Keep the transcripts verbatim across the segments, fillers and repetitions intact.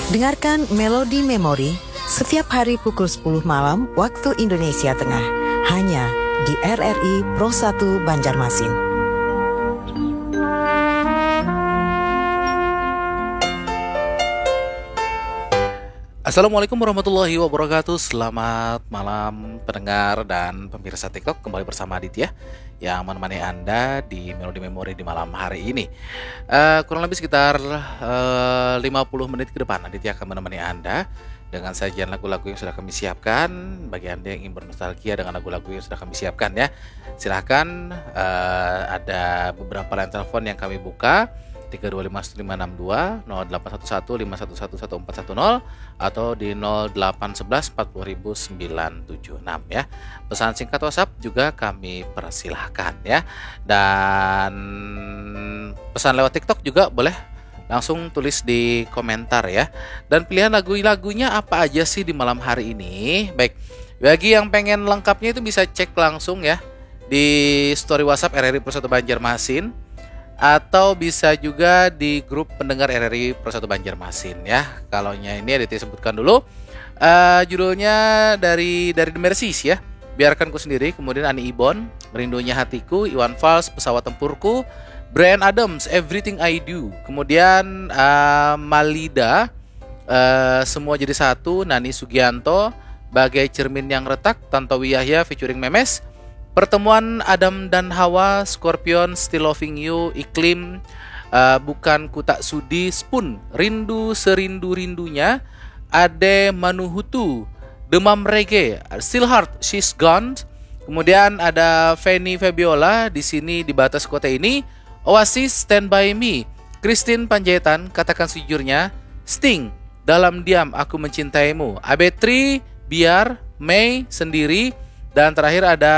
Dengarkan Melody Memory setiap hari pukul sepuluh malam waktu Indonesia Tengah, hanya di R R I Pro satu Banjarmasin. Assalamualaikum warahmatullahi wabarakatuh. Selamat malam pendengar dan pemirsa TikTok. Kembali bersama Aditya yang menemani Anda di Melody Memory di malam hari ini. Eh, kurang lebih sekitar eh, lima puluh menit ke depan, Aditya akan menemani Anda dengan sajian lagu-lagu yang sudah kami siapkan. Bagi Anda yang ingin bernostalgia dengan lagu-lagu yang sudah kami siapkan, ya, silahkan. Eh, ada beberapa line telepon yang kami buka, tiga dua lima satu lima enam dua, nol delapan satu satu lima satu satu satu empat satu nol, atau di nol delapan sebelas empat puluh ribu sembilan tujuh enam, ya. Pesan singkat WhatsApp juga kami persilahkan, ya. Dan pesan lewat TikTok juga boleh, langsung tulis di komentar, ya. Dan pilihan lagu-lagunya apa aja sih di malam hari ini? Baik, bagi yang pengen lengkapnya itu bisa cek langsung, ya, di story WhatsApp R R I Pro satu Banjarmasin, atau bisa juga di grup pendengar R R I Pro satu Banjarmasin, ya. Kalau nya ini ada disebutkan dulu. Eh, judulnya dari dari The Mercies, ya. Biarkan Ku Sendiri, kemudian Ani Ibon, Rindunya Hatiku, Iwan Fals, Pesawat Tempurku, Bryan Adams, Everything I Do, kemudian eh, Malida, eh, Semua Jadi Satu, Nani Sugianto, Bagai Cermin Yang Retak, Tantowi Yahya featuring Memes, Pertemuan Adam dan Hawa, Scorpion, Still Loving You, Iklim, eh, Bukan Ku Tak Sudi, Spoon, Rindu Serindu Rindunya, Ade Manuhutu, Demam Reggae, Still Heart, She's Gone. Kemudian ada Fanny Fabiola, Di Sini di Batas Kota Ini, Oasis, Stand By Me, Christine Panjaitan, Katakan Sejujurnya, Sting, Dalam Diam Aku Mencintaimu, Abetri, Biar, Mei, Sendiri, dan terakhir ada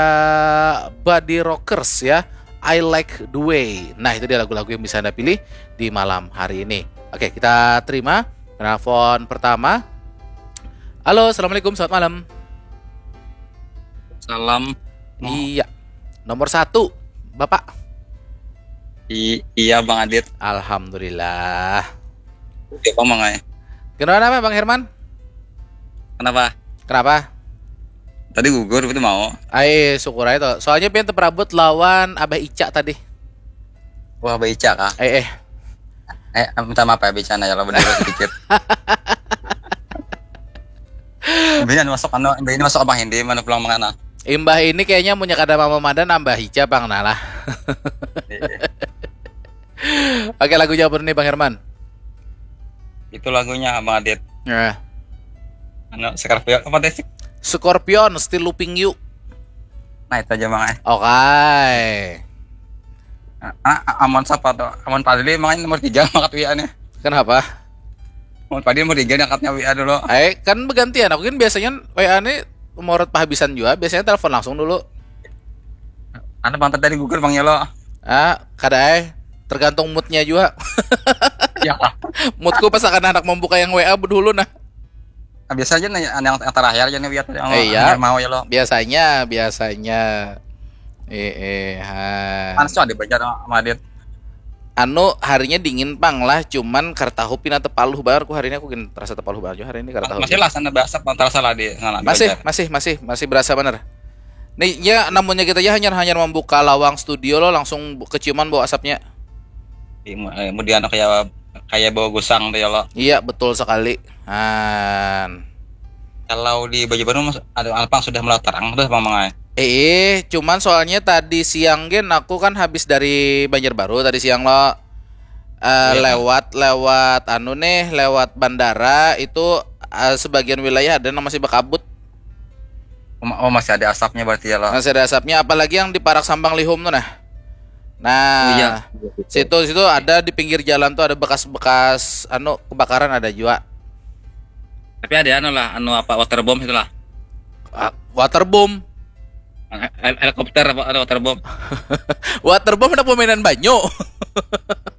Body Rockers, ya, I Like The Way. Nah, itu dia lagu-lagu yang bisa Anda pilih di malam hari ini. Oke, kita terima penelpon pertama. Halo, assalamualaikum, selamat malam. Salam. Iya, nomor satu, Bapak. I- iya, Bang Adit. Alhamdulillah. Siapa, Mang ai? Kenapa, Bang Herman? Kenapa? Kenapa? Tadi gugur, itu mau. Ai, syukur aja tuh. Soalnya pian terperabut lawan Abah Ica tadi. Wah, Abah Ica kah? Eh, eh. Eh, minta maaf ya, Abah Ica, nah, ya, lo bener sedikit. Ini masuk anu, ini masuk Abang Hindi, mana pulang mengana? Imbah ini kayaknya punya kada mama madan nambah hijab, Bang, nah lah. Iya. Oke, lagunya apa nih, Bang Herman? Itu lagunya, Bang Adit. Nah, Anu, Scorpio, apa teh? Scorpion, Still Looping You. Nah, itu aja, Mang ai. Oke. Ah, ah, Amon siapa tuh? Amon Padli, Mang ai, nomor tiga angkat W A nya. Kenapa? Amon Padli nomor tiga angkatnya W A dulu. Eh, kan bergantian. Aku kan biasanya W A nih morot pahabisan juga. Biasanya telepon langsung dulu. Anu, Bang, tadi gugur, Bang, ya lo. Ah, kada ai. Tergantung moodnya juga. Ya, Moodku pas akan anak membuka yang W A dulu, nah. Nah, biasa aja nih, yang, yang terakhir aja nih, W A yang Eh, iya. Yang mau, ya lo. Biasanya, biasanya. Eh, eh, ha. Panas tuh, ada baca sama Adit. Anu, harinya dingin pang lah, cuman kada tahu pina tepaluh banar ku hari ini, aku gin terasa tepaluh banar juga hari ini, kada tahu. Masih lah sana, bahasa antara salah di sana. Masih, masih, masih, masih berasa bener. Nih, ya, namunnya kita aja hanyar, hanyar membuka lawang studio lo, langsung bu- keciuman bau asapnya. Kemudian kayak kayak bau gusang tuh, ya lo. Iya, betul sekali. Han. Kalau di Banjarbaru, Mas, ada apa, sudah mulai terang tuh, Mang ai? Eh, cuman soalnya tadi siang gen aku kan habis dari Banjarbaru tadi siang lo. Eh, Iya. Lewat, lewat anu nih, lewat bandara itu, eh, sebagian wilayah ada yang masih berkabut. Oh, ma- oh, masih ada asapnya berarti, ya lo. Masih ada asapnya, apalagi yang di Parak Sambang Lihum tuh, nah. Nah, Iya. Situ, situ ada di pinggir jalan tuh, ada bekas-bekas anu kebakaran ada juga. Tapi ada anu lah, anu apa, waterbomb itulah. Ah, waterbomb. Hel- helikopter apa, ada waterbomb. Waterbomb ada pemainan banyu.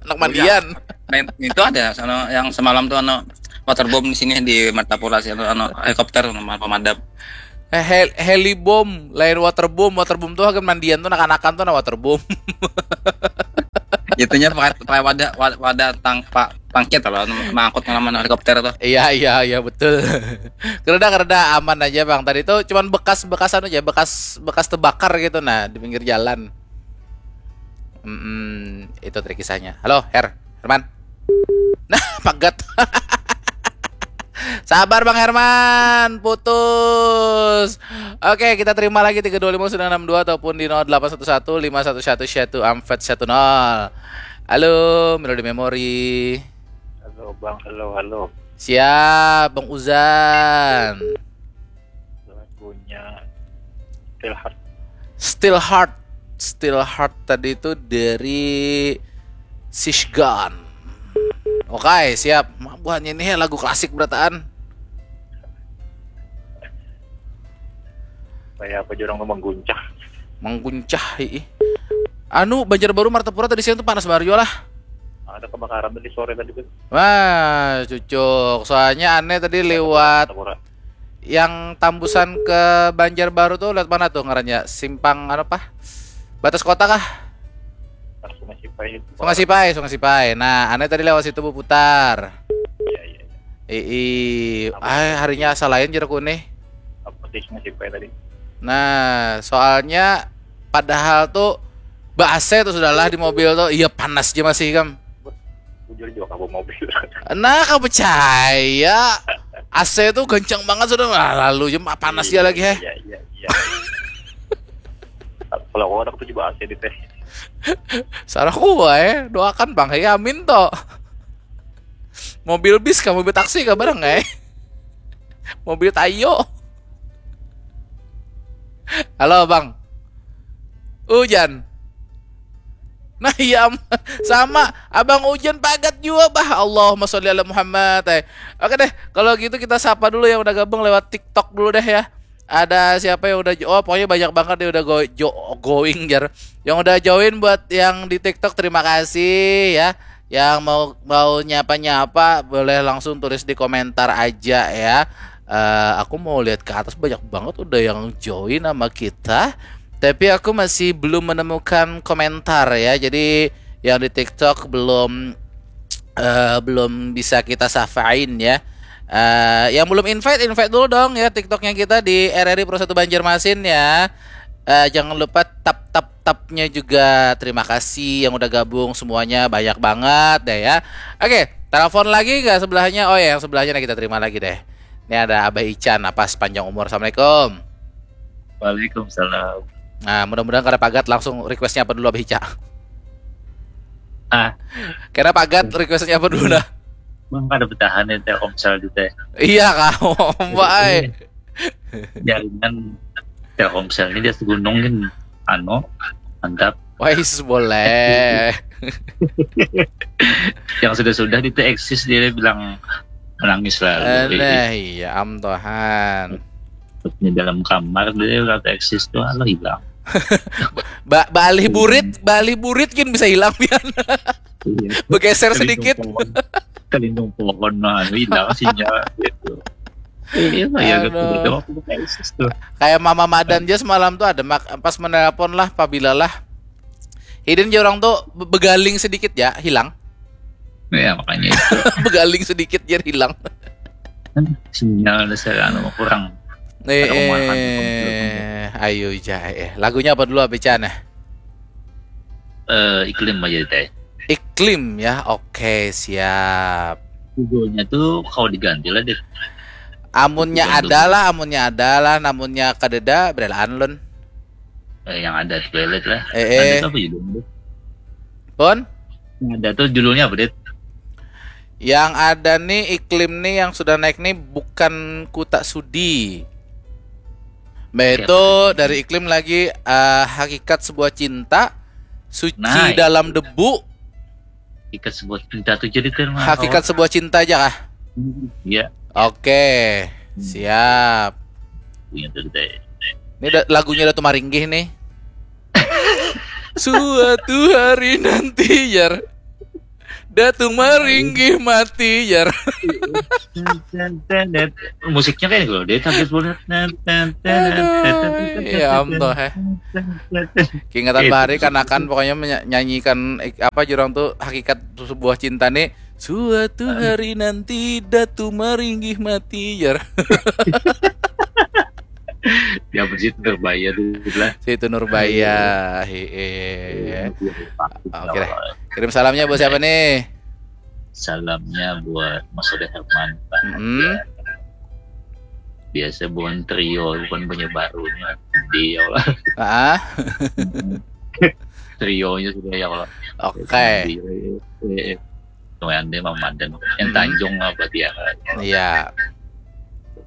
Anak mandian. Nah, itu ada sana yang semalam tuh, anu, waterbomb di sini di Martapura sih, anu, anu, helikopter sama pemadam. Eh, hel helibom, lain waterbomb. Waterbomb tuh kan mandian tuh, anak-anakan tuh, nah, waterbomb. Itunya pakai, pakai wadah, wa- wadah tang, pa- pangkit loh, mangkut ngalaman helikopter tuh. Iya, iya, iya, betul. Kereda, kereda, aman aja, Bang. Tadi tuh cuman bekas-bekas anu aja, bekas bekas terbakar gitu, nah, di pinggir jalan. Hmm, itu trik kisahnya. Halo, Her, Herman. Nah, pagat. Sabar, Bang Herman, putus. Oke, kita terima lagi tiga dua lima sembilan enam dua ataupun di nol delapan satu satu lima satu satu satu empat satu nol. Halo, Melody Memory. Halo Bang, halo, halo. Siap, Bang Uzan. Lagunya Still Heart. Still Heart. Still Heart tadi itu dari Sishgan. Oke, siap. Buahnya ini lagu klasik berataan. Kayak apa, jurang tuh mengguncah. Mengguncah, ih. Anu, Banjarbaru, Martapura tadi siang tuh panas banar jua lah. Ada kebakaran tadi sore tadi tuh. Wah, cucuk. Soalnya aneh tadi lewat Martapura. Yang tambusan ke Banjarbaru tuh lewat mana tuh ngarannya? Simpang anu apa? Batas kota kah? Pas Sungai Sipai itu. Sungai Sipai, Sungai Sipai. Nah, aneh tadi lewat situ berputar. Iya, iya, iya. Ii, ah, harinya asa lain jeraku nih. Apa sih Sungai Sipai tadi? Nah, soalnya padahal tuh ba A C tuh sudahlah di mobil tuh. Iya, panas aja masih, kam. Bujur juga kamu mobil. Nah, kau percaya? A C tuh kencang banget sudah. Wah, lalu aja panas dia lagi, heh. Iya, iya, iya. Kalau aku ada aku juga A C di teh. Salah gua, eh. Doakan, Bang. Ya, amin toh. Mobil bis kah, mobil taksi kah barang, eh? Mobil tayo. Halo, Bang. Ujan. Nah, iya, am- sama. Abang Ujan pagat jua, bah. Allahumma sholli ala Muhammad, eh. Oke deh, kalau gitu kita sapa dulu yang udah gabung lewat TikTok dulu deh ya. Ada siapa yang udah jo- oh, pokoknya banyak banget yang udah go, jo- going, jar. Yang udah join, buat yang di TikTok, terima kasih ya. Yang mau mau nyapa-nyapa boleh langsung tulis di komentar aja ya. Eh, aku mau lihat ke atas, banyak banget udah yang join sama kita. Tapi aku masih belum menemukan komentar ya. Jadi yang di TikTok belum eh, belum bisa kita safain ya. Eh, yang belum invite, invite dulu dong ya TikToknya kita di R R I Pro satu Banjarmasin ya. Eh, jangan lupa tap tap tapnya juga. Terima kasih yang udah gabung semuanya, banyak banget deh ya. Oke, telepon lagi nggak sebelahnya? Oh ya, yang sebelahnya nih kita terima lagi deh. Ini ada Abah Ican, apa, sepanjang umur. Assalamualaikum. Waalaikumsalam. Nah, mudah-mudahan kada pagat, langsung requestnya apa dulu, Abah Ica? Ah. Kena pagat, requestnya apa dulu dah? Bang, kada bertahan ya Telkomsel di teh. Iya kah, Mbak, eh. Jaringan Telkomsel ini di atas gunung kan, anu, mantap. Wais, boleh. Yang sudah-sudah di teh eksis, dia bilang menangis lalu. Nah, iya, am Tuhan. Di dalam kamar dia kata eksis tuh, alo, hilang. Ba balih burit, balih burit kan bisa hilang, pian. Iya. Bergeser Kelindung sedikit. Pohon, kelindung pohon, nah, hilang sinyal gitu. Iya, ya, Aduh. gitu, gitu. Waktu buka eksis tuh. Kayak Mama Madan aja semalam tuh ada mak pas menelpon lah, pabila lah. Hidin aja orang tuh be- begaling sedikit ya, hilang. Ya, makanya itu. Begaling sedikit, jar, hilang. Sinyal dasar anu kurang. Eh, Ada kemakan. eh, ayo, ja, eh. Lagunya apa dulu, Abah Ica, nah? Eh, iklim aja teh. Iklim ya, oke, siap. Judulnya tuh kalau diganti lah deh. Amunnya Iklim ada lah, amunnya ada lah, namunnya kadeda, berelaan lun. Eh, yang ada toilet lah. Eh, eh. Ada apa judulnya? Pun? Yang ada tuh judulnya apa, Dit? Yang ada nih, iklim nih yang sudah naik nih, bukan ku tak sudi. Mbak, Siapa itu tuh? Dari Iklim lagi, eh, hakikat sebuah cinta, suci Nah, dalam debu. Hakikat sebuah cinta tuh jadi kan. Hakikat sebuah cinta aja kah? Iya, Oke, siap. punya tuh teh. Ini da- lagunya Datu Maringgih nih. Suatu hari nanti, jar. Datu maringgih mati jar. Musiknya kayak gitu loh. Dia kaget banget. Ya Allah, eh. Keingetan bahari kanakan pokoknya menyanyikan apa jurang tuh hakikat sebuah cinta nih. Suatu hari nanti Datu maringgih mati jar. Ya besit Nurbaya dulu lah. Situ Nurbaya. Heeh. Oke deh. Kirim salamnya buat siapa nih? Salamnya buat Mas Ode Herman. Mm-mm. Biasa bukan trio, bukan punya barunya. Dia lah. Ah, Trionya sudah ya Allah. oke. Dia, eh, eh. Lumayan deh Mamadan. Yang Hmm. Tanjung apa dia? Iya.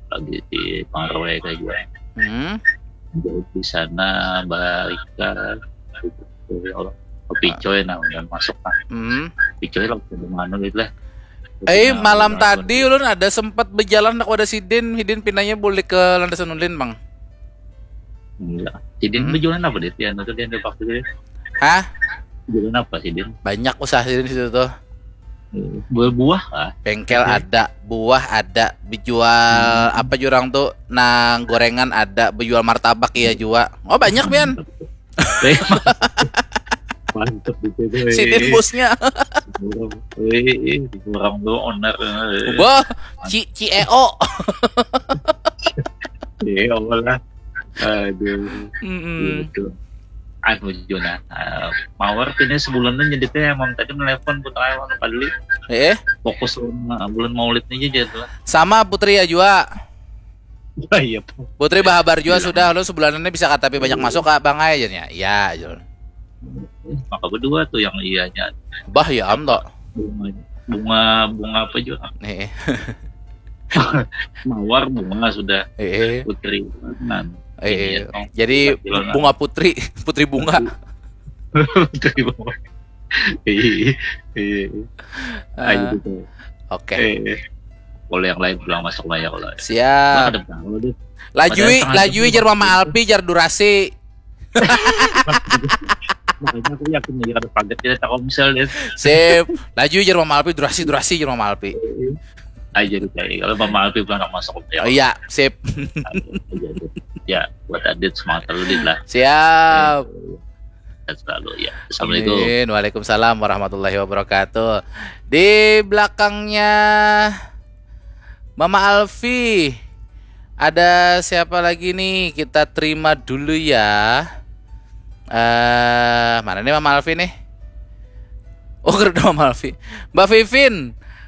Lagi di Pangarwe kayak juga. Hmm. Jauh di sana Barika. Ya Allah. Picoy nah udah masuk lah. Hmm. Picoy lah udah mana gitu lah. Eh, Nah, malam udah tadi ulun ada sempat berjalan aku ada sidin, hidin pinanya boleh ke landasan ulin, Bang. Enggak. Sidin Hmm. berjualan apa dia? Dia tuh dia ada waktu dia. Hah? Jualan apa Sidin? Banyak usaha sidin situ tuh. Buah-buah kah? Bengkel ada, buah ada, bejual apa jurang tuh, nang gorengan ada, bejual martabak iya jua. Oh, banyak pian. Mantep itu tuh. Sidin bosnya. Orang, eh, eh, orang tuh owner. Eh. Wah, C CEO. Iya, Allah lah. Aduh. Mm-mm. Gitu. Anu Juna, eh, mawar pina sebulan tuh jadi teh emang tadi melepon putra emang padahal Eh, fokus sama bulan maulid aja jadi lah. sama Putri ya jua. Wah, iya Pak. Putri bahabar jua Iya. Sudah lu sebulan ini bisa kata tapi banyak masuk kak bang aja nya. Iya, Jul. Maka berdua tuh yang iyanya Bah ya am toh. bunga bunga bunga apa juga Nih. mawar bunga sudah Eh, putri nan eh, Iya, jadi Bilang bunga putri, putri bunga. putri bunga iya iya Ah, ayo gitu Oke, eh boleh yang lain pulang masuk lah ya kalau siap. Ada tahu deh Lajui, Padahal lajui sangat jar mama Alpi jar durasi. Makanya aku yakin nih ada paget kita Telkomsel deh. Sip. Lajui jar mama Alpi durasi durasi jar mama Alpi. Aja deh kayak kalau Mama Alpi belum masuk ya. Oh iya, sip. Aja deh. Ya buat Adit semangat terus Dit lah. Siap. Sehat selalu ya. Assalamualaikum. Amin. Waalaikumsalam warahmatullahi wabarakatuh. Di belakangnya Mama Alfi ada siapa lagi nih? Kita terima dulu ya. Eh, mana nih Mama Alfi nih? Oh, udah Mama Alfi. Mbak Vivin.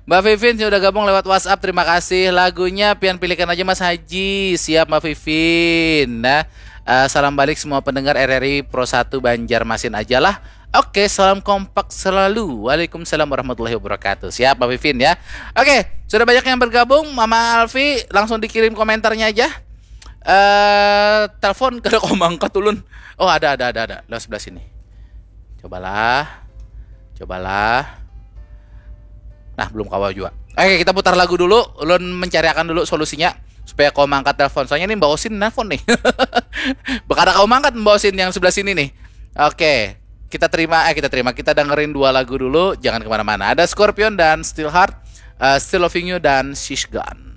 Mbak Vivin sudah gabung lewat WhatsApp. Terima kasih. Lagunya pian pilihkan aja Mas Haji. Siap Mbak Vivin. Nah, eh, salam balik semua pendengar R R I Pro satu Banjarmasin aja lah. Oke, salam kompak selalu. Waalaikumsalam warahmatullahi wabarakatuh. Siap Mbak Vivin ya. Oke, sudah banyak yang bergabung. Mama Alfi langsung dikirim komentarnya aja. Eh, telepon kada kau mangkat ulun. Oh, ada ada ada ada. Lewat sebelah sini. Cobalah. Cobalah. Nah, belum kawa juga. Oke, kita putar lagu dulu. Ulun mencariakan dulu solusinya supaya kau mangkat telepon. Soalnya ini Mbak Osin nelfon nih. Bakada kau mangkat Mbak Osin yang sebelah sini nih. Oke, kita terima eh kita terima. Kita dengerin dua lagu dulu. Jangan kemana-mana. Ada Scorpion dan Still Heart, eh, Still Loving You dan She's Gone.